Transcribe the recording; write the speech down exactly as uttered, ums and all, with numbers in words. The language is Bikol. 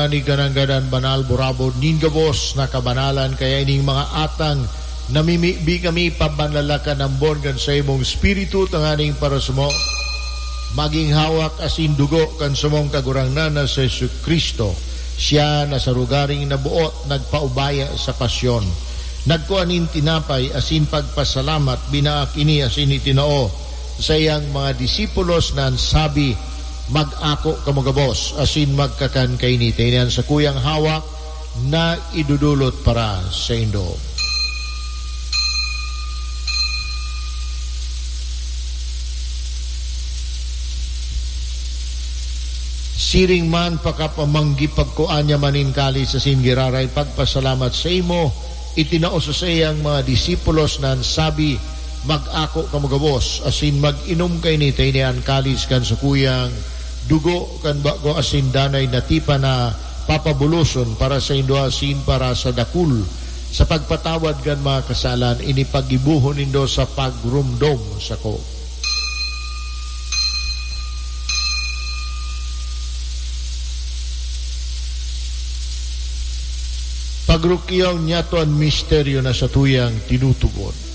Ni kananggadan banal, burabod nin gabos na kabanalan, kaya ining mga atang namimibi kami pabanlalakan ambon kan saimong Espiritu tanganing parasamo magin hawak asin dugo kan samong Kagurangnan na si Jesu-Cristo. Siya na sa lugaring naboot nagpaubaya sa pasyon, nagkua nin tinapay asin pagpasalamat, binaak ini asin itinao sa iyang mga disipulos na an sabi, "Mag-ako kamo gabos asin magkakan kaini, ta ini an sakuyang hawak na idudulot para saindo." Siring man, pakapamanggi, pagkua niya man nin kalis asin giraray pagpasalamat saimo, itinao sa saiyang mga disipulos na an sabi, "Mag-ako kamo gabos asin mag-inom kaini, ta ini an kalis kan sakuyang dugo kan bago asin danay na tipan na papabuloson para saindo asin para sa dakul sa pagpatawad kan mga kasalan. Ini paggibohon nindo sa pagromdom sako." Pagrukiyaw niyato an misteryo na satuyang tinutubod.